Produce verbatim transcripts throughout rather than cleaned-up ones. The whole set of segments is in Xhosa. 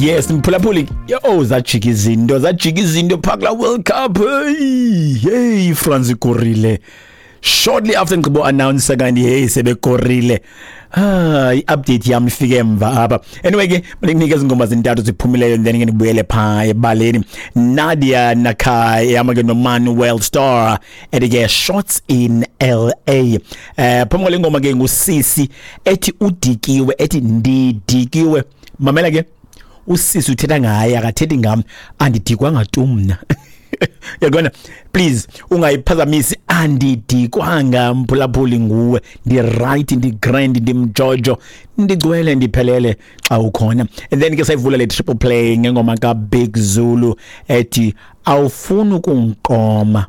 Yes, mphulaphuli, yo, zajika izinto, zajika izinto phaa kulaa World Cup. Hey, hey, France ikorile shortly after ngigqibo announce kanti hey, sebekorile. Ah, i-update yam ifike emva apha. Anyway ke, mandinike ezi ngoma zintathu ziphumileyo, then ke ndibuyele phaa ebaleni. Nadia Nakai ehamba ke noManuel Star, ethi ke "Shots in L A". Eh phambi kwale ngoma ke ngusisi ethi "Udikiwe", ethi "Ndidikiwe". Mamela ke, usisi uthetha ngaye, akathethi ngam. Andidikwanga tu mna, yabona. Please ungayiphazamisi. Andidikwanga, mphulaphuli, nguwe. Ndi-right, ndi-grand, ndimjojo, ndigcwele, ndiphelele xa ukhona. And then ke sayivula le triple play ngengoma kaBig Zulu ethi "Awufuni Ukungiqoma".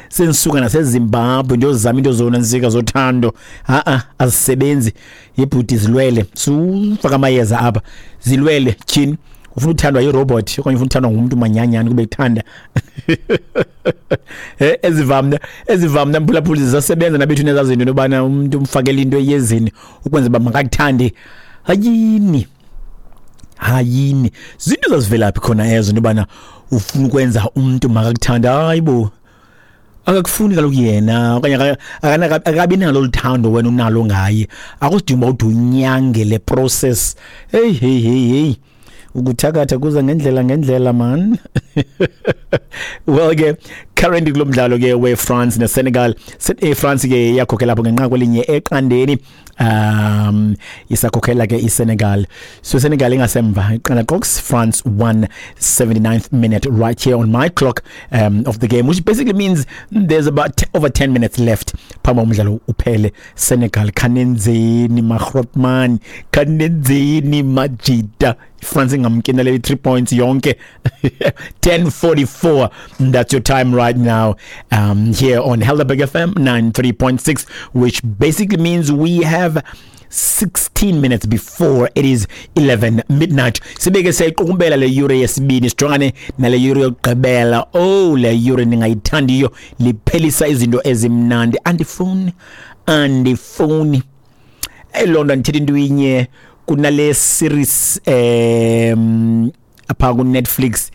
Sendisuka naseZimbabwe ndiyozama into zonantsika zothando. Ha-a, azisebenzi yebhuti, zilwele, sufaka amayeza apha, zilwele. Tyhini, ufuna uthandwa yirobot okanye ufuna uthandwa ngumntu manyanyani kube kuthanda? Eh, ezivamna ezivamna mphulaphuli, zisasebenza nabethu nezaa zinto intobana umntu umfakele into eyezini ukwenza uba makakuthande. Hayini, hayini, zinto zazivelaphi khona ezo, into yobana ufuna ukwenza umntu makakuthanda? Hayi bo, akakufuni kaloku yena, okanye aka- akana- akabi nalo luthando wena unalo ngaye. Akusidinga uba ude unyange le process. Hey, hey, hey, hey, ukuthakatha kuza ngendlela ngendlela, man. Well ke, currently kulo mdlalo ke we-France neSenegal, iFrance ke iyakhokhela apho ngenqaku elinye eqandeni, um isakhokhela ke iSenegal. So Senegal ingasemva iqanda qox, France one, seventy-ninth minute right here on my clock um, of the game, which basically means there's about over ten minutes left phambi umdlalo uphele. Senegal, khanenzeni magrotman, khanenzeni majita. France ingamkinele three points yonke. ten forty-four, that's your time right now um, here on Helderberg F M ninety-three point six, which basically means we have sixteen minutes before it is eleven midnight. Sibeke siyayiqukumbela le yure yesibini, sijongane nale yure yokugqibela. Oh, le yure ningayithandiyo, liphelisa izinto ezimnandi. Andifuni, andifuni eloo nto. Andithetha into inye kunale series um apha ku-Netflix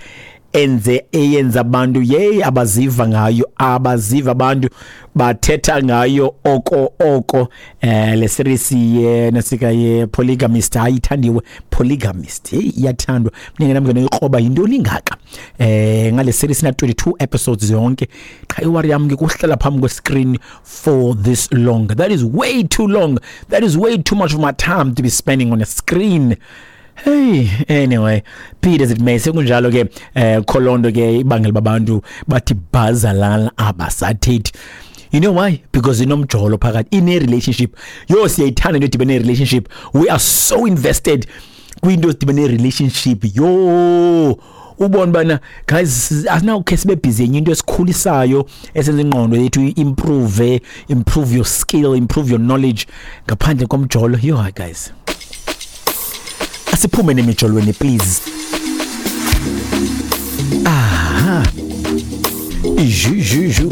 enze eyenza abantu yeyi abaziva ngayo, abaziva abantu bathetha ngayo oko oko. eh le series ye nasika ye Polygamist, hayi, ithandiwe Polygamist. Hey, iyathandwa. Mina nami ngiyikroba, yintoni ingaka eh ngale series? Na twenty-two episodes yonke. Qha iworry yami ke kuhlala phambi kwe screen for this long. That is way too long. That is way too much of my time to be spending on a screen. Hey, anyway, be it as it may, sekunjalo ke. eh kholondo ke ibangela babantu bathi bazalala abasathethi. You know why? Because inomjolo phakathi, ine relationship. Yo, siyayithanda into edibene relationship. We are so invested kwinto ezidibene relationship. Yo, ubona bana guys, asinawukhe sibe busy enye into esikhulisayo, esenza ingqondo yethu improve, improve your skill, improve your knowledge, ngaphandle komjolo. Yo, guys, asiphume nemijolweni, please. Aha, iju ju ju,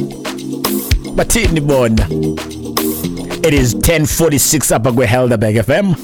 bathini bona? It is ten forty-six apha kwe-Helderberg F M.